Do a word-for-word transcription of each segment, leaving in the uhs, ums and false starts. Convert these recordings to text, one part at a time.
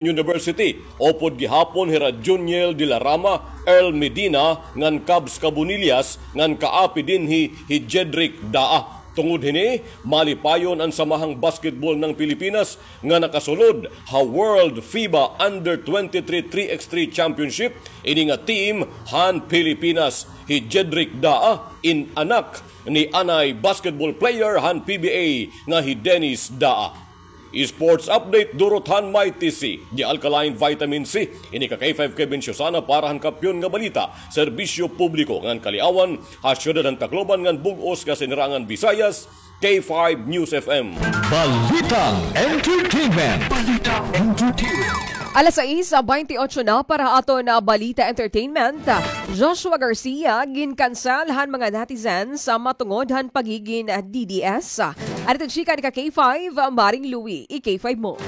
University, upod gihapon hira Juniel de la Rama, Earl Medina, ngan Cubs Cabonillas, ngan kaapi dinhi hi Jedrick Daa. Tungod hini, malipayon an Samahang Basketball ng Pilipinas nga nakasulod ha World FIBA Under twenty-three three X three Championship, ini nga team han Pilipinas. Hi Jedrick Daa in anak ni anay basketball player han P B A nga hi Dennis Daa. Sports update durot han Mighty C, The Alkaline Vitamin C. Ini ka K five Kevin Susana para han Kampiyon nga Balita, Serbisyo Publiko ngan Kaliawan, ha siyudad han Tacloban ngan bug-os nga Sinirangan Visayas, K five News F M. Balitang Entertainment. Balitang Entertainment. Alas sais, baynte otso na para aton, ah, Balita Entertainment. Joshua Garcia, ginkansel han mga netizens, ah, matungod han pagigin, ah, D D S. Adto chika ni ka K five, ah, Maring Louie, i-K five mo.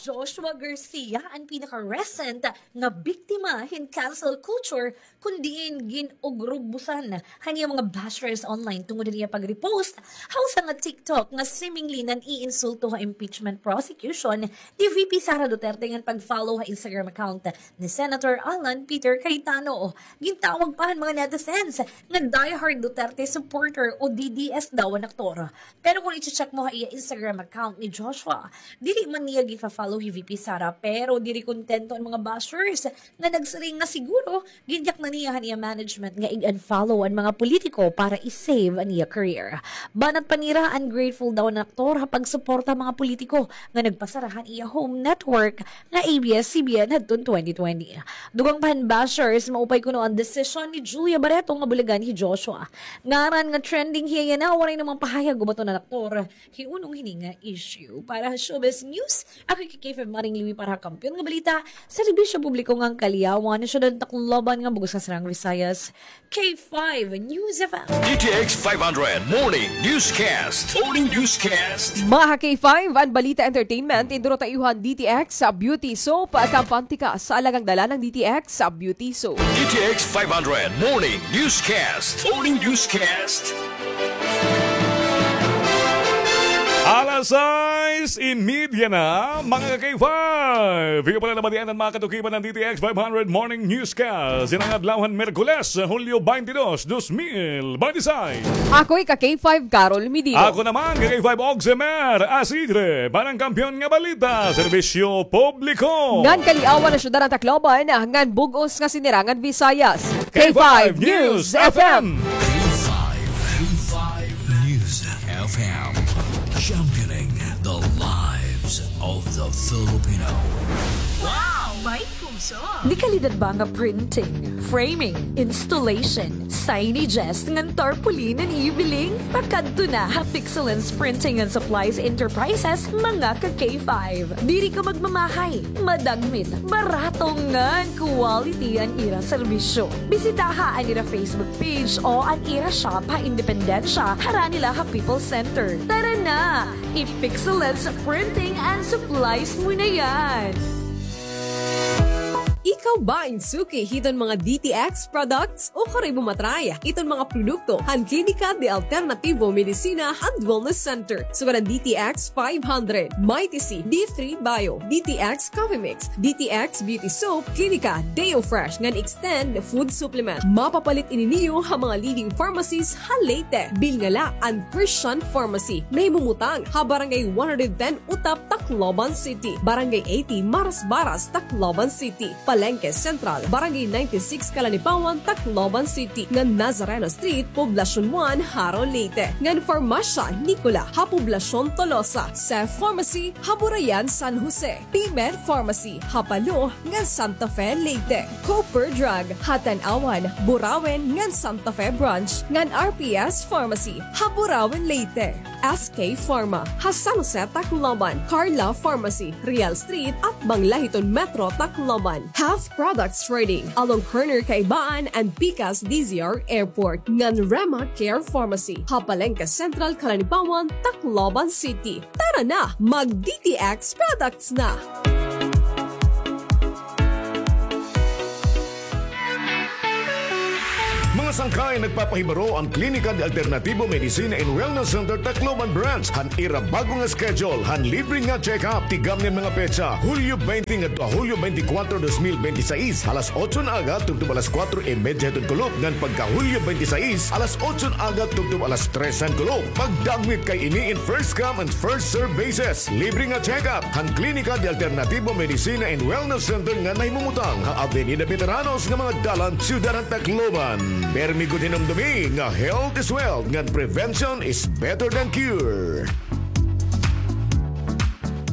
Joshua Garcia an pinaka-recent nga biktima hin cancel culture, kun diin gin-ugrubusan han iya mga bashers online tungod han iya pag-repost ha usa nga TikTok nga seemingly nan-iinsulto ha impeachment prosecution ni V P Sara Duterte ngan pag-follow ha Instagram account ni Senator Alan Peter Cayetano. Gintawag pa han mga netizens nga diehard Duterte supporter o D D S daw an aktor. Pero kun i-check mo ha iya Instagram account ni Joshua, diri man niya gifa-follow hi V P Sara, pero diri kontento an mga bashers nga nagsiring nga siguro ginyak na niya han iya management nga ig-unfollow an mga politiko para i-save an iya career. Banat pa nira, ungrateful daw an aktor ha pagsuporta ha mga politiko nga nagpasara han iya home network nga A B S C B N hadton twenty twenty. Dugang pa han bashers, maupay kuno an desisyon ni Julia Barreto nga bulagan hi Joshua. Ngaran nga trending hiya yana, waray namang pahayag ubaton an aktor hiunong hini nga issue. Para ha Showbiz News, ako hi K five Maring Louie para ha Kampiyon nga Balita, Serbisyo Publiko ngan Kaliawan, Siyudad Tacloban ngan bug-os nga Sinirangan Visayas, K five News F M. D T X five hundred Morning Newscast. Morning Newscast. Mga K five, an Balita Entertainment, idurot ha iyo han D T X Beauty Soap, kampante ka sa alagang dala ng D T X Beauty Soap. D T X five hundred Morning Newscast. Morning Newscast. Alas sais y media na, mga ka-K five. Iyo pala nabatian an mga katukiban ng D T X five hundred Morning Newscast. Ini nga adlaw han Miyerkules, Hulyo twenty-two, twenty twenty-six. Ako hi ka-K five, Carol Medina. Ako naman, ka-K five, Oximer Asidre. Para han Kampiyon nga Balita, Serbisyo Publiko ngan Kaliawan, Siyudad han Tacloban ngan bug-os nga Sinirangan Visayas, K five News F M. K five, K five News F M, championing the lives of the Filipino. Wow! May puso! Dekalidad ba nga printing, framing, installation, signages ngan tarpaulin an iyo biling? Pakadto na ha Pixelance Printing and Supplies Enterprises, mga ka-K five. Diri ka magmamahay, madagmit, barato ngan quality an ira serbisyo. Bisitaha an ira Facebook page o an ira shop ha Independencia, harani la ha People's Center. Tara na! I-Pixelance Printing and Supplies mo na yan! Ikaw ba in suki hiton mga D T X products? Ukon kay bumatray hiton mga produkto han Klinika de Alternativo Medicina and Wellness Center. Sugad an D T X five hundred, Mighty C, D three Bio, D T X Coffee Mix, D T X Beauty Soap, Klinika Deo Fresh ngan Extend Food Supplement. Mapapalit ini niyo ha mga leading pharmacies ha Leyte. Bilnga la an Christian Pharmacy, nahimumutang ha Barangay one hundred ten Utap, Tacloban City, Barangay eighty Marasbaras, Tacloban City, Palengke Central, Barangay ninety-six Calanipawan, Tacloban City, ngan Nazareno Street, Poblacion one, Jaro, Leyte, ngan Farmasya Nicola ha Poblacion Tolosa, Seth Pharmacy ha Burayan, San Jose, P-Med Pharmacy ha Palo ngan Santa Fe, Leyte, Cooper Drug ha Tanauan, Burauen ngan Santa Fe Branch, ngan R P S Pharmacy ha Burauen, Leyte, S K Pharma ha San Jose, Tacloban, Carla Pharmacy, Real Street, atbang la hiton Metro Tacloban, Health Products Trading along corner Kaibaan and Pikas D Z R Airport, ngan Rema Care Pharmacy ha Palengke Central, Calanipawan, Tacloban City. Tara na, mag-D T X products na! Mga Sangkay nagpapahibaro an Klinika de Alternativo Medicina and Wellness Center Tacloban Branch han ira bag-o nga schedule han libre nga check-up. Tigam niyan mga petsa, Hulyo twenty ngadto ha Hulyo twenty-four, dos mil bente y seis, alas otso han aga tubtob alas kuwatro y medya hiton kulop, ngan pagka Hulyo twenty-six, alas otso han aga tubtob alas tres han kulop. Pagdagmit kay ini in first come and first serve basis. Libre nga check-up han Klinika de Alternativo Medicina and Wellness Center nga nahimumutang ha Avenida Veteranos nga mga dalan, Siyudad han Tacloban. Permi gud hinumdumi nga health is wealth, ngan prevention is better than cure.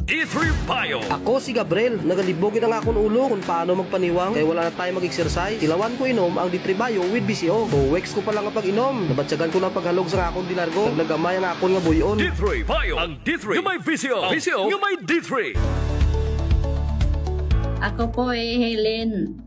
D three Bio. Ako si Gabriel. Nagalibog gid an akon ulo kon paano magpaniwang kay wala na time mag-exercise. Tilawan ko inom ang D three Bio with V C O. Two weeks ko pa lang nga pag-inom, nabatyagan ko na an paghalog sa akon dilargo. Naglagamay ang akon nga buy-on. D three Bio. Ang D three nga may V C O. V C O nga may D three. Ako po hi Helen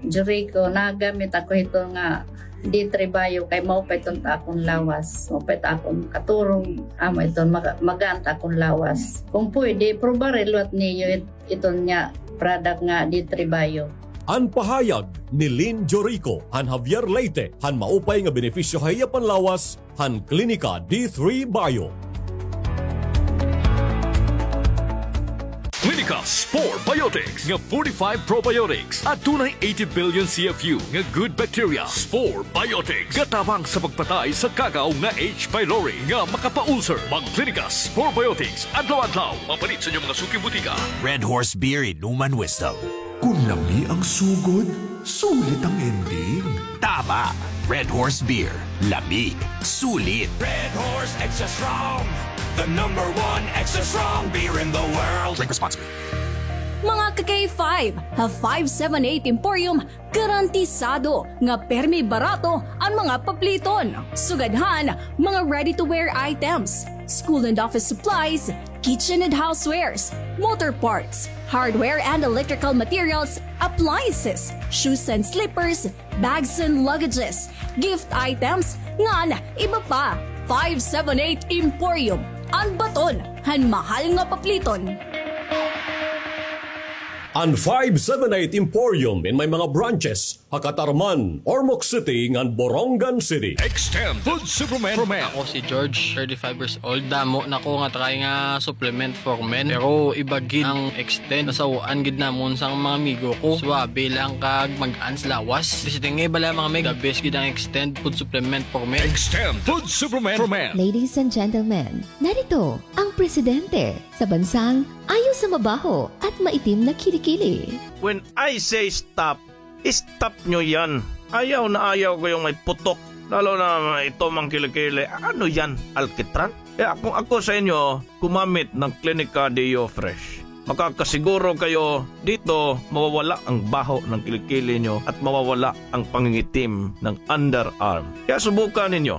Jurico, nagamit ako hito nga D three Bio kay maupay iton ta akon lawas. Maupay ta akon katurog, amo iton maga-, magaan ta akon lawas. Kung pwede, probare liwat niyo it-, iton nga product nga D three Bio. An pahayag ni Lynn Jorico han Javier Leyte han maupay nga benepisyo ha iya panlawas han Klinika D three Bio. Klinika Spore Biotics nga forty-five probiotics, adunay eighty billion C F U nga good bacteria. Spore Biotics gatabang sa pagpatay sa kagaw nga H. pylori nga makapa-ulcer. Magklinika Spore Biotics adlaw-adlaw. Mapalit sa inyo mga suking butika. Red Horse Beer, inuman wisdom. Kon lami ang sugod, sulit ang ending. Tama! Red Horse Beer. Lami. Sulit. Red Horse Extra Strong. The number one extra strong beer in the world. Drink responsibly. Mga ka-K five, ha five seven eight Emporium, garantisado nga permi barato an mga papliton. Sugad han mga ready-to-wear items, school and office supplies, kitchen and housewares, motor parts, hardware and electrical materials, appliances, shoes and slippers, bags and luggages, gift items, ngan iba pa. Five seven eight Emporium, an baton han mahal nga papliton. An five seven eight Emporium in may mga branches ha Catarman, Ormoc City, ngan Borongan City. Extend Food Supplement for Men. Ako si George, thirty-five years old. Damo na ko nga try nga supplement for men. Pero iba gid ang Extend. Nasaw-an gid namon sa mga amigo ko. Suwabe lang kag magaan sa lawas. Visiting nga iba lang, mga mig. The best gid ang Extend Food Supplement for Men. Extend Food Supplement for Men. Ladies and gentlemen, narito ang presidente sa bansang ayaw sa mabaho at maitim na kilikili. When I say stop, stop nyo yan. Ayaw na ayaw ko yung may putok. Lalo na ito, mga kilikili. Ano yan? Alkitran? Kaya kung ako sa inyo, gumamit ng Klinika Deo Fresh. Makakasiguro kayo dito, mawawala ang baho ng kilikili nyo at mawawala ang pangingitim ng underarm. Kaya subukan ninyo.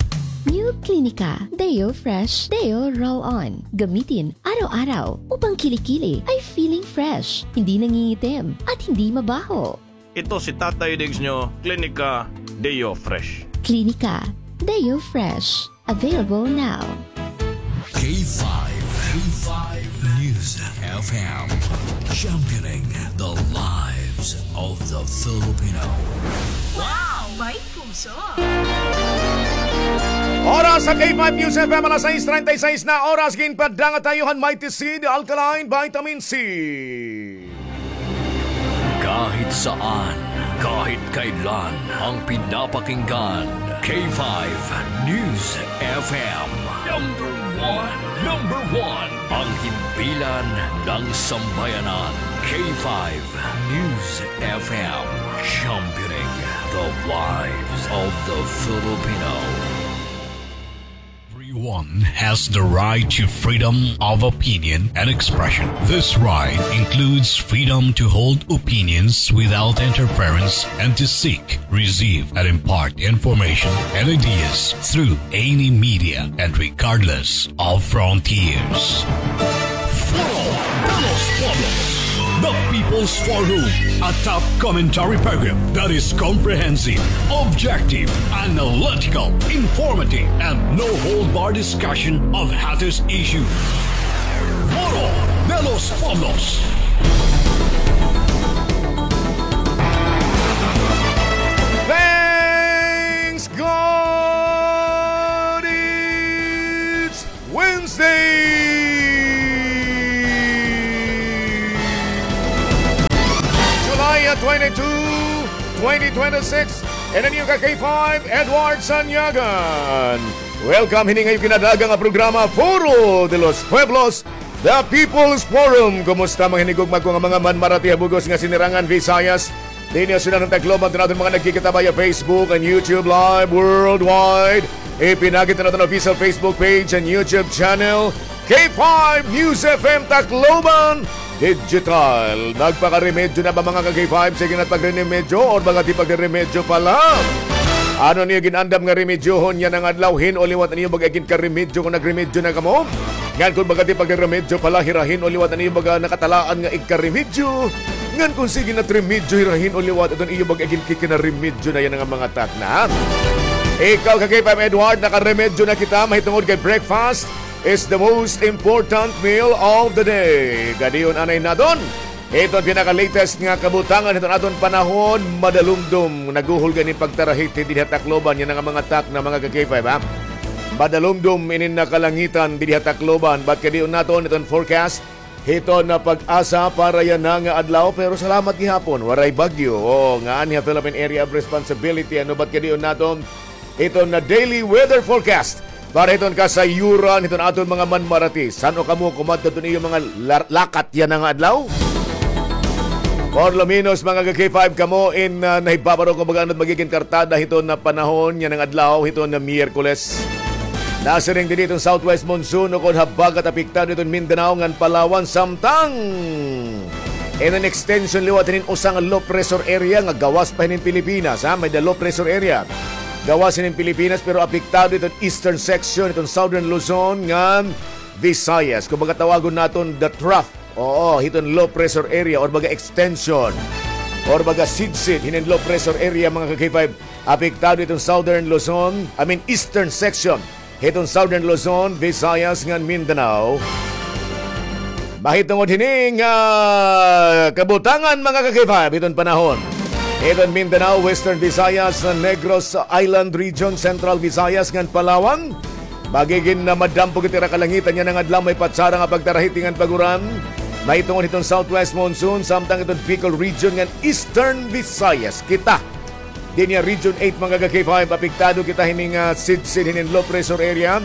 New Klinika Deo Fresh Deo Roll-On. Gamitin araw-araw upang kilikili ay feeling fresh, hindi nangingitim, at hindi mabaho. Ito si Tatay Diggs nyo, Klinika Deo Fresh. Klinika Deo Fresh. Available now. K five, K five News F M, championing the lives of the Filipino. Wow! May puso! Oras sa K five News F M, alas sais treinta y seis na oras, ginpadanga ta ha iyo han Mighty Seed Alkaline Vitamin C. Kahit saan, kahit kailan, ang pinapakinggan, K five News F M. Number one, number one, ang himpilan ng sambayanan, K five News F M, championing the lives of the Filipino. Everyone has the right to freedom of opinion and expression. This right includes freedom to hold opinions without interference and to seek, receive, and impart information and ideas through any media and regardless of frontiers. Foro de los Pueblos, the People's Forum, a top commentary program that is comprehensive, objective, analytical, informative, and no-hold-bar discussion of hottest issues. Foro de los Pueblos. twenty-two, twenty twenty-six. And an iyo ka K five, Edward Sanyagan. Welcome hini nga iyo kinadaaga nga programa, Foro de los Pueblos, The People's Forum. Kumusta, mga hinigugma ko nga mga manmarati ha bug-os nga sinirangan Visayas? Dinhi ha syudad han Tacloban, han aton mga nagkikita via Facebook and YouTube Live worldwide. Ipinakita naton official Facebook page and YouTube channel, K five News F M Tacloban Digital. Nagpakaremedyo na ba, mga ka-K five? Sige na pagre-remedyo or baga ti pagre-remedyo pa la? Ano an iyo gin-andam nga remedyohon yana nga adlaw? Hin-o liwat an iyo baga ginkaremedyo kon nagremedyo na kamo? Ngan kon baga ti pagre-remedyo pa la, hira hin-o liwat an iyo baga nakatalaan nga igkaremedyo? Ngan kon sige na it remedyo, hira hin-o liwat iton iyo baga ginkikinaremedyo na yana nga mga takna, ha? Ikaw, ka-K five Edward, nakaremedyo na kita mahitungod kay breakfast is the most important meal of the day. Gad-on anay naton iton pinaka-latest nga kabutangan hiton aton panahon, madalumdom, naghuhulga ini pagtarahiti dinhi ha Tacloban yana nga mga takna, mga ka-K five, ha? Madalumdom inin kalangitan dinhi ha Tacloban, but gad-on naton iton forecast hiton PAGASA para yana nga adlaw, pero salamat gihapon, waray bagyo. O, nga anhi ha Philippine Area of Responsibility, ano, but gad-on naton iton daily weather forecast para hiton kasayuran hiton aton mga manmarati. San-o kamo kumadto hiton iyo mga lar-, lakat yana nga adlaw? Por lo menos, mga ka-K five, kamo in, ah, nahibabaro kon baga ano it magigin kartada hiton panahon yana nga adlaw, hiton Miyerkules. Nasiring didi iton southwest monsoon ukon habagat apektado iton Mindanao ngan Palawan, samtang iton extension liwat hinin usa nga low pressure area nga gawas pa hinin Pilipinas, ha? May-ada low pressure area gawas hinin Pilipinas, pero apektado iton eastern section, iton southern Luzon ngan Visayas. Kumbaga, tawagon naton the trough. Oo, hiton low pressure area or baga extension or baga sidsid hinin low pressure area, mga ka-K five. Apektado iton southern Luzon, I mean, eastern section hiton southern Luzon, Visayas ngan Mindanao. Mahitungod hini nga kabutangan, mga ka-K five, hiton panahon hiton Mindanao, Western Visayas, Negros Island Region, Central Visayas ngan Palawan. Magigin na madampo gad it ira kalangitan yana nga adlaw, may patsara nga pagtarahiti ngan pag-uran. Mahitungod hiton southwest monsoon, samtang iton Bicol Region ngan Eastern Visayas. Kita dinhi ha Region eight, mga ka-K five, apektado kita hini nga sidsid hinin low pressure area.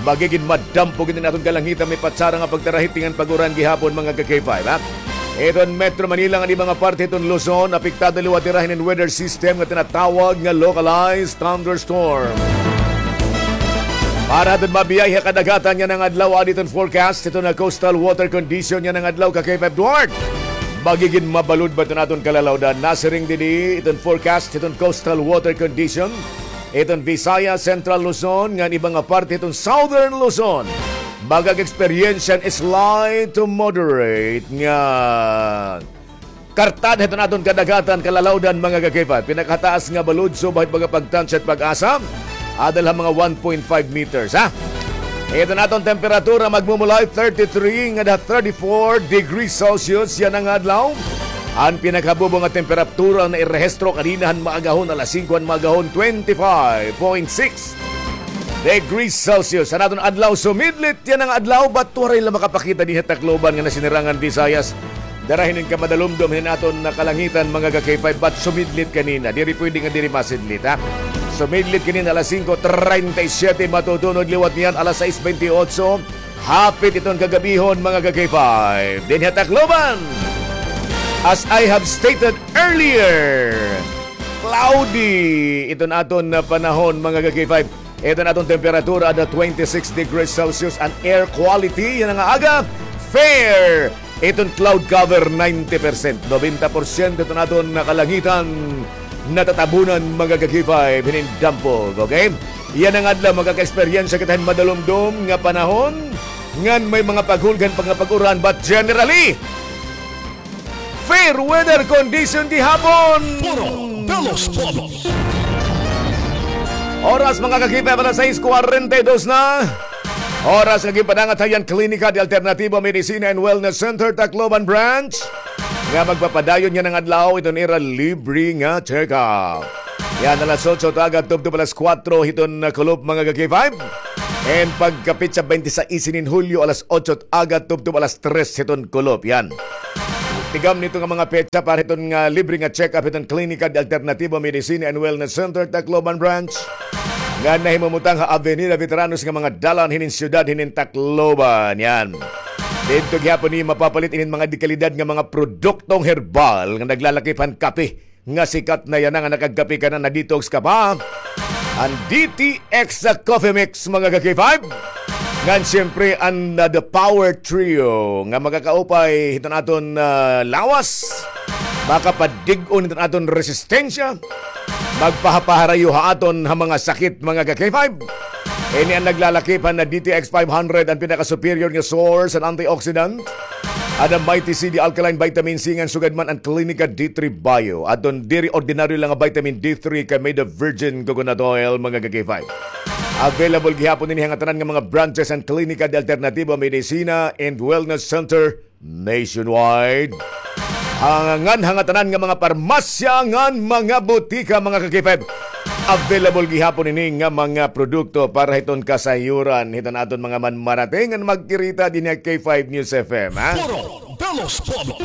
Magigin madampo gid an aton kalangitan, may patsara nga pagtarahiti ngan pag-uran gihapon, mga ka-K five, ha? Iton Metro Manila ngan iba nga parte hiton Luzon, apektado liwat hira hinin weather system nga tinatawag nga localized thunderstorm. Para hiton mabiyahe ha kadagatan yana nga adlaw, adi iton forecast hiton coastal water condition yana nga adlaw, ka-K five Edward. Magigin mabalod ba iton aton kalalawdan? Nasiring didi iton forecast hiton coastal water condition hiton Visayas, Central Luzon, ngan iba nga parte hiton Southern Luzon. Mag-experience hin slight to moderate nga kartada hiton aton kadagatan kalalawdan, mga ka-K five. Pinakataas nga balod subay hit mga pagtansya hit PAGASA, ada la ha mga one point five meters, ha? Iton aton temperatura magmumulay thirty-three ngada thirty-four degrees Celsius yana nga adlaw. An pinakabubo nga temperatura nairehistro kanina han maagahon, alas singko han maagahon, twenty-five point six degrees Celsius. An aton adlaw sumidlit yana nga adlaw, but waray la makapakita dinhi ha Tacloban nga nasinirangan Visayas. Dara hinin kamadalumdom hinin aton kalangitan, mga ka-K five, but sumidlit kanina. Diri pwede nga diri masidlit, ha? Sumidlit kanina alas singko treinta y siete, matutunod liwat niyan alas sais bente otso. Hapit iton kagabihon, mga ka-K five. Dinhi ha Tacloban, as I have stated earlier, cloudy iton aton panahon, mga ka-K five. Iton aton temperatura ada twenty-six degrees Celsius, an air quality yana nga aga, fair. Iton cloud cover, ninety percent, nobenta porsyento iton aton kalangitan natatabunan, mga ka-K five, hinin dampog, okay? Yana nga adlaw, makaka-eksperyensya kita hin madalumdom nga panahon, ngan may mga paghulgan pa nga pag-uran, but generally, fair weather condition gihapon. Foro de los Pueblos. Oras, mga ka-K five, alas sais kwarenta y dos na. Oras nga ginpadangat ha iya an Klinika de Alternativa Medicina and Wellness Center, Tacloban Branch, nga magpapadayon yana nga adlaw iton ira libre nga check-up. Yana alas otso hit aga tubtob alas kuwatro hiton kulop, mga ka-K five. And pagkapetsa bente sais hinin Hulyo, alas otso hit aga tubtob alas tres hiton kulop. Yana. Tigam nito nga mga petsa para hiton nga libre nga check-up hiton Klinika de Alternativa Medicina and Wellness Center, Tacloban Branch, nga nahimumutang ha Avenida Veteranos nga mga dalan hinin siyudad hinin Tacloban. Yan. Didto gihapon niyo mapapalit inin mga dekalidad nga mga produktong herbal nga naglalakip han kape nga sikat na yana nga nakagkape ka na, na-detox ka pa. An D T X Coffee Mix, mga ka-K five. Ngan siyempre, an, uh, The Power Trio nga makakaupay hiton aton, uh, lawas, makapadig-on hiton aton resistensya, magpahapaharayo ha aton ha mga sakit, mga ka-K five. Ini an naglalakip han na D T X five hundred, an pinaka-superior nga source an antioxidant. Ada Mighty C D Alkaline Vitamin C ngan sugad man an Klinika D three Bio. Adton diri ordinaryo la nga vitamin D three kay made of virgin coconut oil, mga ka-K five. Available gihapon ini ha ngatanan nga mga branches an Klinika de Alternativa Medicina and Wellness Center nationwide. Ngan ha ngatanan nga mga parmasya ngan mga butika, mga ka-K five. Available gihapon ini nga mga produkto para hiton kasayuran hiton aton mga manmarate ngan magkirita dinhi ha K five News F M, ha? Foro de los Pueblos.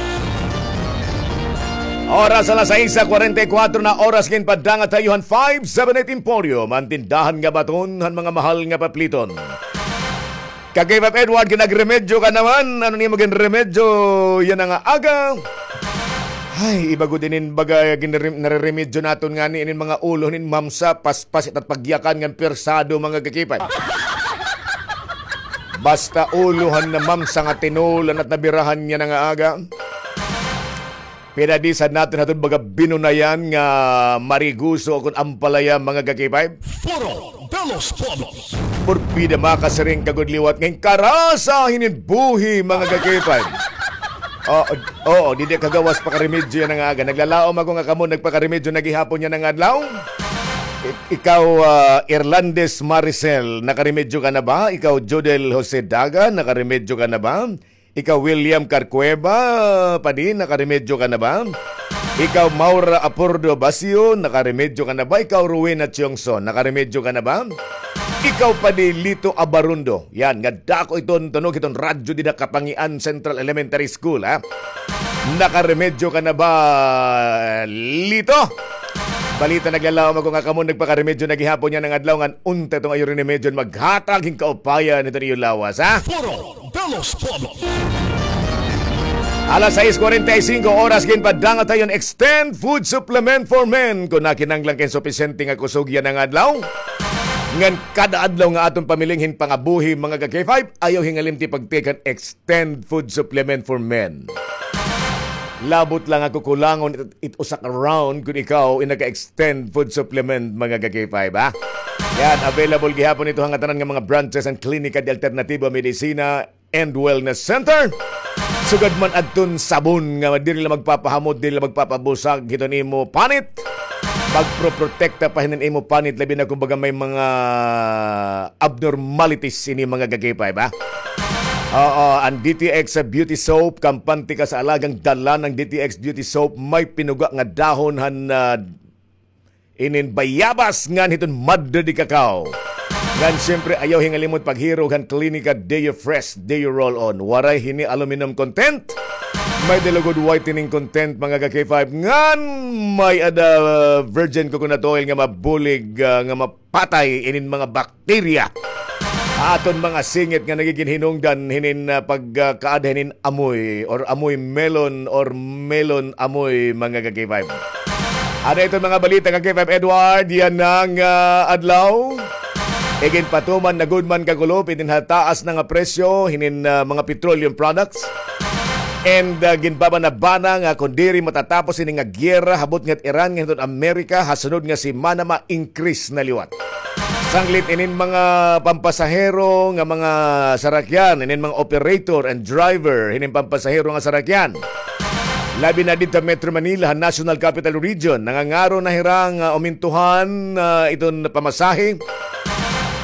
Oras alas sais kwarenta y kuwatro na oras, ginpadangat ha iyo han five seven eight Emporium, an tindahan nga baton han mga mahal nga papliton. Ka-K five Edward, ginagremedyo ka naman. Ano nimo ginremedyo yana nga aga? Ay, iba gud inin baga ginre-, nareremedyo naton ngani inin mga ulo nin mamsa, paspas it at pagyakan ngan persado, mga ka-K five. Basta ulo han na mamsa nga tinulan at nabirahan yana nga aga. Pinadisad naton haton baga binunayan nga mariguso kon ampalaya, mga ka-K five. Foro de los Pueblos. Porbida makasiring ka gud liwat nga karasa hinin buhi, mga ka-K five. Oo, oo, didi ka gawas pakaremedyo yana nga aga. Naglalaom ako nga kamo nagpakaremedyo na gihapon yana nga adlaw. Ik-, ikaw, ah, Irlandes Maricel, nakaremedyo ka na ba? Ikaw, Jodel Jose Daga, nakaremedyo ka na ba? Ikaw, William Carcueva, padi, nakaremedyo ka na ba? Ikaw, Maura Apordo Basio, nakaremedyo ka na ba? Ikaw, Rowena Tiongson, nakaremedyo ka na ba? Ikaw, padi, Lito Abarundo. Yan, nga dako iton tunog hiton radyo dida Kapangian Central Elementary School, ha? Nakaremedyo ka na ba, Lito? Balita, naglalaom ako nga kamo nagpakaremedyo na gihapon yana nga adlaw, ngan unta iton iyo remedyo maghatag hin kaupayan hiton iyo lawas, ha? Foro de los Pueblos. Alas sais kwarenta y singko oras, ginpadangat ha iyo an Extend Food Supplement for Men. Kon nakinahanglan ka hin supisyente nga kusog yana nga adlaw, ngan kada adlaw nga aton pamiling hin pangabuhi, mga ka-K five, ayaw hingalimti pag-take han Extend Food Supplement for Men. Labot la nga kukulangon it, it usa ka round kon ikaw in naka-Extend Food Supplement, mga ka-K five, ha? Yan, available gihapon ito ha ngatanan nga mga branches han Klinika de Alternativa Medicina and Wellness Center. Sugad man adton sabon nga diri la magpapahamot, diri la magpapabusag hiton imo panit. Magproprotekta pa hinin imo panit, labi na kon baga may mga abnormalities ini, mga ka-K five, ha? Oo, an D T X Beauty Soap, kampante ka sa alagang dala. An D T X Beauty Soap may pinuga nga dahon han, ah, inin bayabas ngan hiton madre de cacao. Ngan siyempre, ayaw hingalimot paghirog han Klinika Deo Fresh, Deo Roll-On. Waray hini aluminum content. May-ada la gud whitening content, mga ka-K five. Ngan may-ada virgin coconut oil nga mabulig, ah, nga mapatay inin mga bakterya ha aton mga singit nga nagigin hinungdan hinin, ah, pagkaada hinin amoy or amoy melon or melon amoy, mga ka-K five. Ano iton mga balita, ka-K five Edward, yana nga, ah, adlaw? Iginpatuman na gud man kakulop inin ha taas na nga presyo hinin, ah, mga petroleum products. And, ah, ginpabanabana nga kon diri matatapos ini nga giyera ha butnga hit Iran ngan hiton Amerika ha sunod nga semana, ma-increase na liwat. Sanglit inin mga pampasahero nga mga sarakyan, inin mga operator and driver hinin pampasahero nga sarakyan, labi na didto ha Metro Manila, ha National Capital Region, nangangaro na hira nga umintuhan, ah, iton pamasahe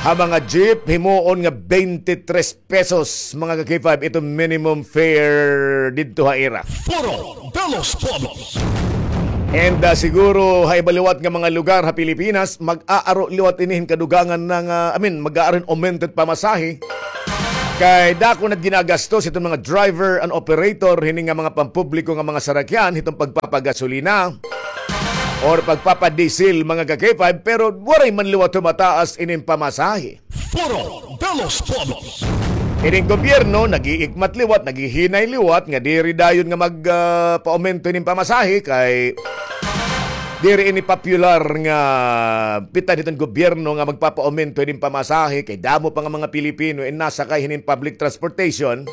ha mga jeep, himuon nga twenty-three pesos, mga ka-K five, ito minimum fare didto ha ira. Foro de los Pueblos. And, ah, siguro ha iba liwat nga mga lugar ha Pilipinas, mag-aaro liwat ini hin kadugangan na nga, I mean, mag-aaro hin aumento hit pamasahe. Kay dako na ginagastos iton mga driver and operator hini nga mga pampubliko nga mga sarakyan hiton pagpapagasolina or pagpapadiesel, mga ka-K five, pero waray man liwat humataas ining pamasahe. Foro de los Pueblos. Ining gobyerno nag-iikmat liwat, naghihinay liwat nga diri dayon nga mag, ah, paaumento ining pamasahe kay diri ini popular nga bitan hiton gobyerno nga magpapaaumento ining pamasahe kay damo pa nga mga Pilipino in nasakay hinin public transportation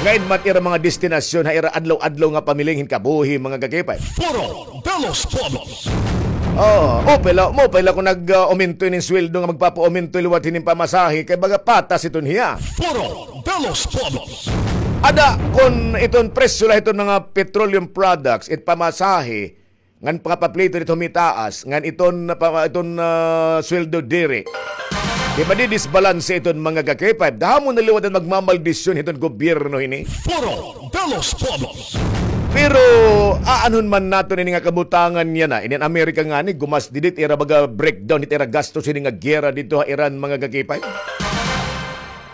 nga in man ira mga destinasyon ha ira adlaw-adlaw nga pamiling hin kabuhi, mga ka-K five. Foro de los Pueblos. Oh, maupay la, maupay la kon nag, ah, aumento inin sweldo nga magpapaaumento liwat hinin pamasahe kay baga patas iton hiya. Foro de los Pueblos. Ada kon iton presyo la hiton mga petroleum products, it pamasahe, ngan pangapapleto didto humitaas, ngan iton, pa, iton, ah, sweldo diri. Di madidisbalanse iton, mga ka-K five. Damo na liwat an magmamaldisyon hiton gobyerno hini. Foro de los Pueblos. Pero aanhon man naton ini nga kabutangan yana. Inin Amerika ngani, gumasdi didto ira baga breakdown hit ira gastos hini nga giyera didto ha Iran, mga ka-K five.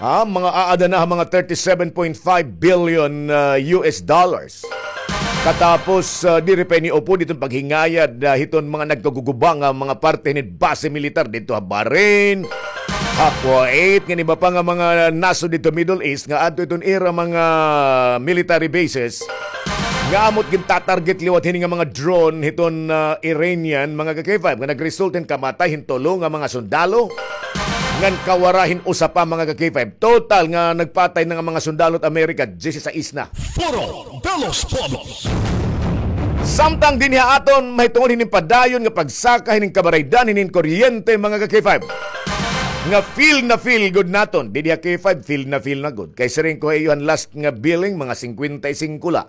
Ha, mga aada na ha mga thirty-seven point five billion, ah, U S dollars. Katapos, ah, diri pa ini upod iton paghingayad, ah, hiton mga nagkaguguba nga mga parte hinin base militar didto ha Bahrain, ha Kuwait, ngan iba pa nga mga nasod didto Middle East nga adto iton ira mga military bases nga amo it gintatarget liwat hini nga mga drone hiton, ah, Iranian, mga ka-K five, nga nagresulta hin kamatay hin tulo nga mga sundalo, ngan kawara hin usa pa, mga ka-K five. Total nga nagpatay na nga mga sundalo hit Amerika, diyesisais na. Foro de los Pueblos. Samtang dinhi ha aton, mahitungod hinin padayon nga pagsaka hinin kabaraydan hinin kuryente, mga ka-K five. Nga feel na feel gud naton. Dinhi ha K five, feel na feel na gud. Kay siring ko ha iyo, an last nga billing, mga singkwenta y singko la.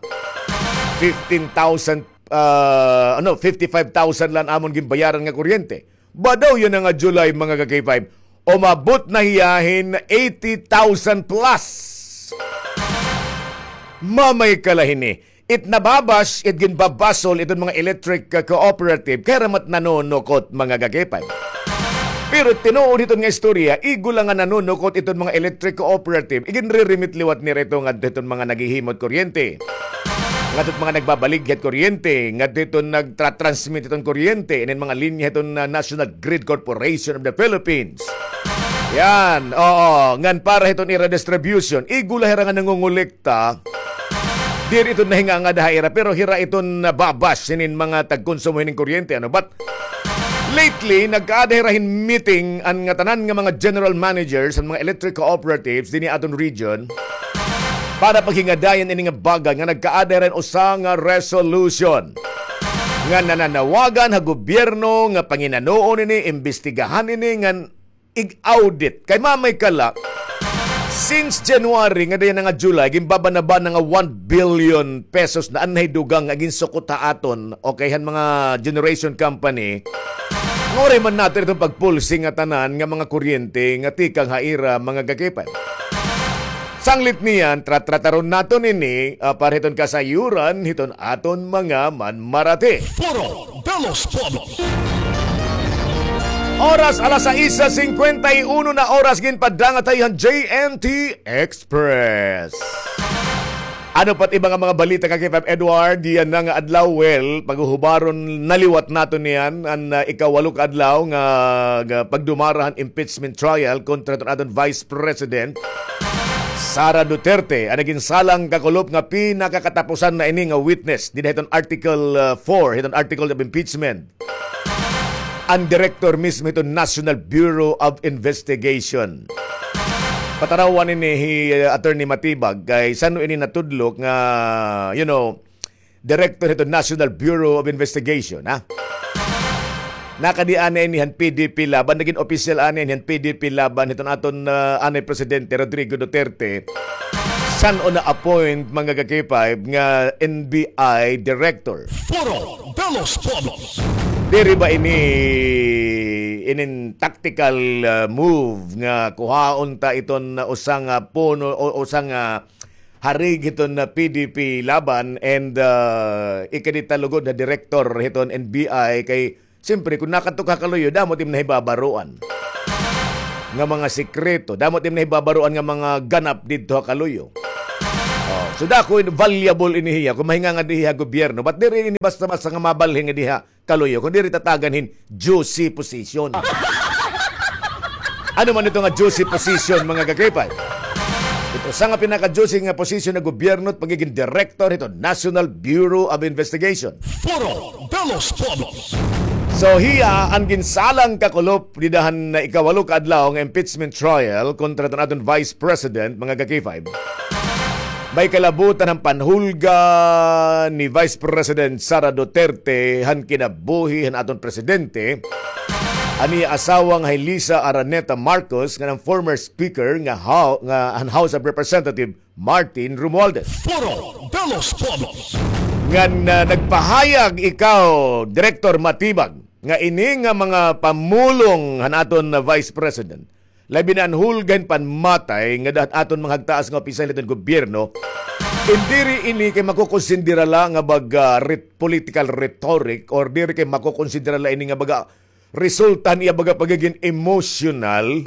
Fifteen thousand, ah, ano, fifty-five thousand la an amon ginbayaran nga kuryente. Badaw yana nga July, mga ka-K five, umabot na hiya hin eighty thousand plus. Mamay ka la hini. It nababash, it ginbabasol iton mga electric, uh, cooperative, kay hira man it nanunukot, mga ka-K five. Pero tinuod hiton nga istorya, igo la nga nanunukot iton mga electric cooperative, iginre-remit liwat nira ito ngadto hiton mga naghihimo hit kuryente. Ngadto hit mga nagbabaligya hit kuryente, ngadto hiton nagtra-transmit hiton kuryente, inin mga linya hiton, uh, National Grid Corporation of the Philippines. Yan, oo, ngan para hiton ira distribution, igo la hira nga nangongolekta. Diri ito nahingangada ha ira, pero hira iton nababash hinin mga tagkonsumo hinin kuryente, ano? But lately, nagkaada hira hin meeting an ngatanan nga mga general managers han mga electric cooperatives dinhi aton region para paghingadayan ini nga bagay nga nagkaada hira hin usa nga resolution nga nananawagan ha gobyerno nga panginanoon ini, imbestigahan ini, ngan ig-audit. Kay mamay ka la, since January ngadayon na nga July, ginbabana-bana nga one billion pesos na an nahidugang nga ginsukot ha aton, okay, han mga generation company. Nga waray man naton iton pagpulsi nga tanan nga mga kuryente nga tikang ha ira, mga ka-K five. Sanglit niyan, tra-, trataron naton ini, ah, para hiton kasayuran hiton aton mga manmarati. Foro de los Pueblos. Oras alas sais singkwenta y uno na oras, ginpadangat ha iyo han J N T Express. Ano pa it iba nga mga balita, ka-K five Edward? Yana nga adlaw, well, paghuhubaron na liwat naton niyan an, ah, ikawalo ka adlaw nga, nga pagdumara han impeachment trial kontra hiton aton Vice President Sara Duterte, an nagin sala han kakulop nga pinakakatapusan na ini nga witness dinhi hiton Article, uh, four, hiton Article of Impeachment, an director mismo hiton National Bureau of Investigation. Patarawan ini hi, uh, Attorney Matibag kay san-o ini natudlok nga, you know, director hiton National Bureau of Investigation, ha? Nakadi anay ini han P D P Laban, nagin opisyal anay ini han P D P Laban hiton aton, ah, anay Presidente Rodrigo Duterte. San-o na-appoint, mga ka-K five, nga N B I director? Foro de los Pueblos. Diri ba ini inin tactical, ah, move nga kuhaon ta iton usa nga puno o usa nga harig hiton, ah, P D P Laban and, ah, ikadi ta lugod nga direktor hiton N B I kay, siyempre, kon nakadto ka ha kaluyo, damo it im nahibabaroan. nga mga sikreto. Damo it im nahibabaroan nga mga ganap didto ha Kaluyo. Oh, so dako, valuable ini hiya kon mahingangad hiya ha gobyerno. But diri ini basta-basta nga mabalhin nga diha Kaluyo, kon diri tatagan hin juicy position. Ano man ito nga juicy position, mga ka-K five? Ito, usa nga pinaka-juicy nga position ha gobyerno, pagiging director hito National Bureau of Investigation. Foro de los Pueblos. So, hiya an ginsalang kakulop dida han ikawalo ka adlaw nga impeachment trial kontra hiton aton Vice President, mga ka-K five. May kalabutan han panhulga ni Vice President Sara Duterte han kinabuhi han aton presidente, an iya asawa nga hi Liza Araneta Marcos, ngan an former speaker nga Hou-, nga han House of Representative, Martin Romualdez. Foro de los Pueblos. Ngan, ah, nagpahayag ikaw, Director Matibag, nga ini nga mga pamulong han aton, ah, Vice President, labi na an hulga hin panmatay ngada han aton mga hagtaas nga opisyal hiton gobyerno, diri ini kay makokonsidera la nga baga ret-, political rhetoric, or diri kay makokonsidera la ini nga baga resulta han iya baga pagiging emotional,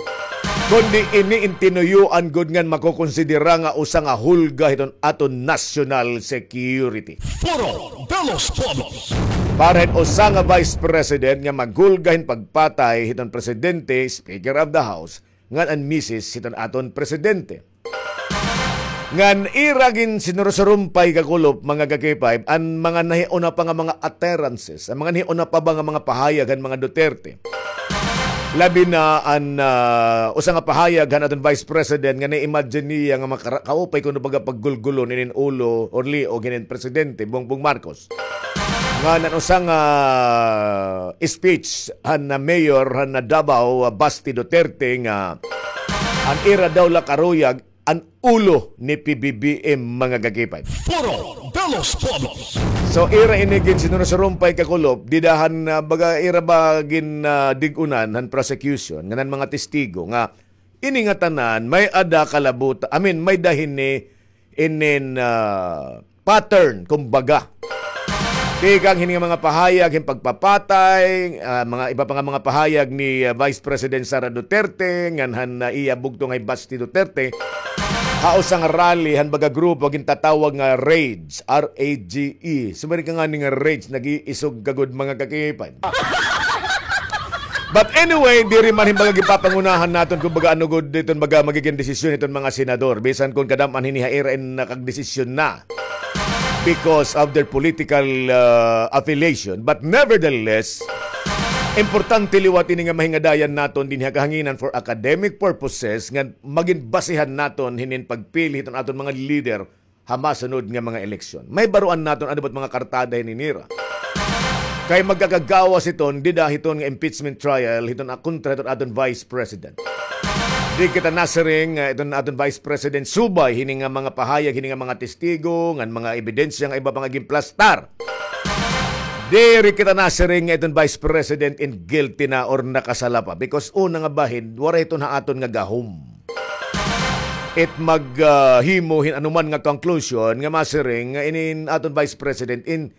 kundi ini in tinuyoan gud ngan makokonsidera nga usa nga hulga hiton aton national security. Foro de los Pueblos. Para hin usa nga vice president nga maghulga hin pagpatay hiton presidente, Speaker of the House, ngan an misis hiton aton presidente. Ngan ira ginsinurusurumpay, kakulop, mga ka-K five, an mga nahiuna pa nga mga utterances, an mga nahiuna pa ba nga mga pahayag han mga Duterte. Labi na an, ah, usa nga pahayag han aton Vice President nga na-imagine niya nga makara-, kaupay kuno baga paggulgulon inin ulo or liog hinin Presidente Bongbong Marcos. Ngan an usa nga speech han, ah, mayor han, ah, Davao, ah, Basti Duterte, nga an ira daw la karuyag an ulo ni P B B M, mga ka-K five. Foro de los Pueblos. So, ira ini ginsinurusurumpay, kakulop, dida han, ah, baga ira ba gin, ah, dig-unan han prosecution ngan an mga testigo nga ini nga tanan may-ada kalabuta, I mean, may-ada hini inin, ah, pattern, kumbaga. Tikang hini nga mga pahayag hin pagpapatay, ah, mga iba pa nga mga pahayag ni, ah, Vice President Sara Duterte, ngan han, ah, iya bugto nga hi Basti Duterte, ha usa nga rally han baga grupo gintatawag nga RAGE, R A G E. Sumari ka ngani nga RAGE, nag-iisog ka gud, mga ka-K five. But anyway, diri man hin baga gipapangunahan naton kon baga ano gud iton baga magiging desisyon hiton mga senador. Bisan kon kadam-an hini ha ira in nakagdesisyon na because of their political, uh, affiliation. But nevertheless, importante liwat ini nga mahingadayan naton dinhi ha kahanginan for academic purposes nga magin basihan naton hinin pagpili hiton aton mga leader ha masunod nga mga eleksyon. Mahibaroan naton ano ba it mga kartada hini nira. Kay magkakagawas hiton, dida hiton nga impeachment trial, hiton a-, kontra hiton aton Vice President. Di kita nasiring nga iton aton Vice President subay hini nga mga pahayag, hini nga mga testigo, ngan mga ebidensya nga iba pa nga ginplastar. Diri kita nasiring nga iton Vice President in guilty na or nakasala pa. Because una nga bahin, waray iton ha aton nga gahom. It mag, ah, himo hin anuman nga conclusion nga masiring nga inin aton Vice President in,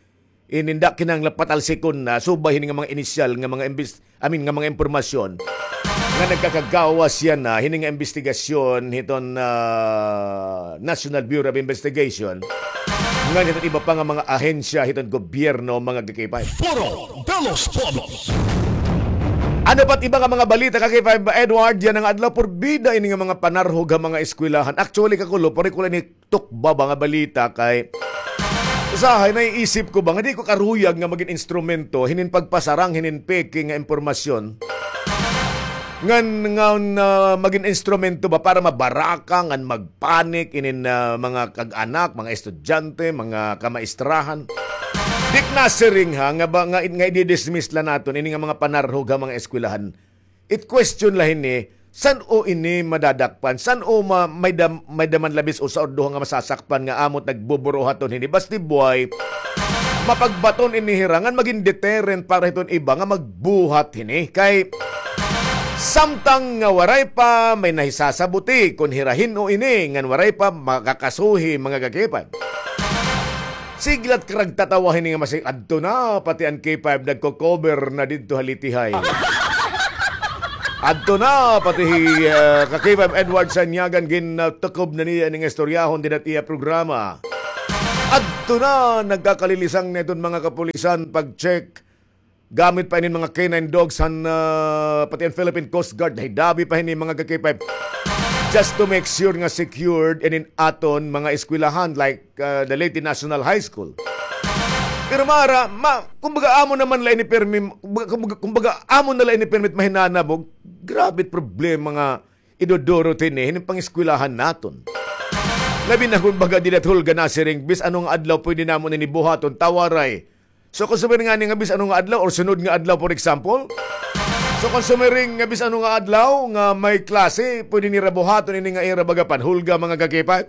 in, inda kinahanglan patalsikon na, subay hini nga mga inisyal nga mga imbis-, I mean, nga mga impormasyon nga nagkakagawas yana hini nga imbestigasyon hiton, ah, National Bureau of Investigation, ngan hiton iba pa nga mga ahensya hiton gobyerno, mga ka-K five. Foro de los Pueblos. Ano pa it iba nga mga balita, ka-K five Edward, yana nga adlaw? Purbida ini nga mga panarhog ha mga eskwelahan. Actually, kakulop, waray ko la ini tukba ba nga balita kay usahay naiisip ko ba nga di ko karuyag nga magin instrumento hinin pagpasarang hinin peke nga impormasyon. Ngan, ngan, ah, magin instrumento ba para mabaraka ngan magpanik inin, ah, mga kag-anak, mga estudyante, mga kamaistrahan? Di ko nasiring ha, nga ba, nga, nga i-dismiss la naton ini nga mga panarhog ha mga eskwelahan. It question la hini, san-o ini madadakpan? San-o ma-, may dam-, may-ada man labis usa or duha nga masasakpan nga amo it nagbuburuhaton hini? Basti buhay, mapagbaton ini hira ngan magin deterrent para hiton iba nga magbuhat hini. Kay samtang nga waray pa may nahisasabuti kon hira hin-o ini ngan waray pa makakasuhi, mga ka-K five. Sige la it karagtatawa hini nga masing adto na, pati an K five nagko-cover na didto ha Leyte High. Adto na, pati hi, ah, ka-K five Edward Sanyagan, gintukob na niya ini nga istoryahon dida ha iya programa. Adto na, nagkakalilisang na iton mga kapulisan, pag-check. Gamit pa inin mga K nine dogs han, ah, pati an Philippine Coast Guard, nahidabi pa hini mga ka-K five. Just to make sure nga secured inin aton mga eskwelahan, like, ah, the Leyte National High School. Pero mara, ma, kumbaga amo naman la ini permi, kumbaga, kumbaga, kumbaga amo na la ini permit mahinanabog. Grabe it problema nga idudurot hini, hinin pangeskwelahan naton. Labi na kumbaga dida ha hulga nasiring, bisan ano nga adlaw pwede namon ini buhaton, ta waray. So, kon sumiring ngani nga bisan ano nga adlaw or sunod nga adlaw, for example, so, kon sumiring nga bisan ano nga adlaw nga may klase, pwede nira buhaton ini nga ira baga panhulga, mga ka-K five.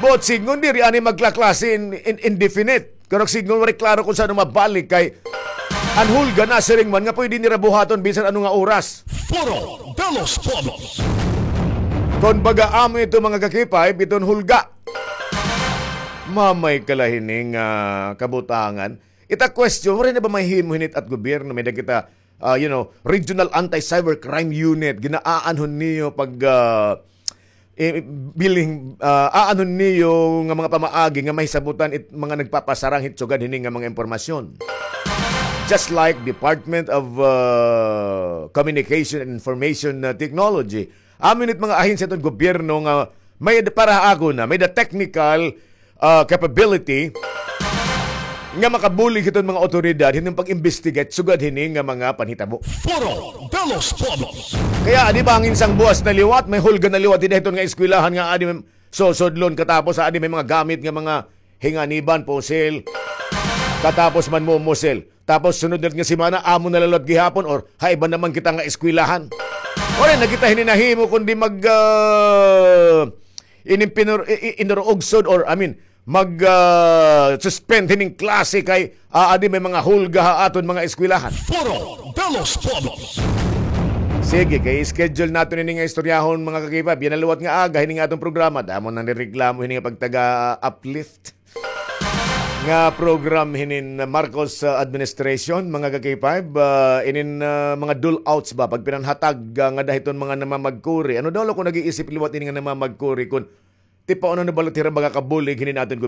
Buot sidngon, diri anay magkaklase in, in, indefinite. Karuyag sidngon, waray klaro kon san-o mabalik kay an hulga nasiring man nga pwede nira buhaton bisan ano nga oras. Foro de los Pueblos. Kon baga amo ito, mga ka-K five, iton hulga. Mamay ka la hini nga, ah, kabutangan. Ita question, waray na ba mahimo hini it at gobyerno? May-ada kita, ah, you know, Regional Anti-Cybercrime Unit. Gin-aanhon niyo pag, ah, eh, biling, ah, aanhon niyo nga mga pamaagi nga mahisabotan it mga nagpapasarang hit sugad hini nga mga impormasyon. Just like Department of, ah, Communication and Information, ah, Technology. Amo ini it mga ahensya hiton gobyerno nga may, para ha akon, may the technical, ah, capability nga makabulig hiton mga awtoridad hiton pag-investigate sugad hini nga mga panhitabo. Foro de los Pueblos. Kay adi bangin sang buwas na liwat, may hulga na liwat dida hiton nga eskwelahan nga adi may susudlon, katapos adi may mga gamit nga mga hinganiban, pusil, katapos manmumusil. Tapos sunod na nga semana, amo na la liwat gihapon, or ha iba naman kita nga eskwelahan. Waray na kita hini nahimo kundi mag, ah, inimpinur-, i-, i-, inurugsod, or, I mean, mag, ah, suspend hining klase kay aadi may mga hulga ha aton mga eskwelahan. Foro de los Pueblos. Sige, kay schedule naton ini nga istoryahon, mga ka-K five. Yana liwat nga aga hini nga aton programa. Damo nang nireklamo hini nga pagtaga-uplift nga program hinin Marcos, ah, administration, mga ka-K five, ah, inin, ah, mga dole outs ba, pagpinanhatag, ah, ngada hiton mga namamagkuri. Ano daw la kon nag-iisip liwat ini nga namamagkuri kon tipaon ano bala it ira baga kabulig hinin aton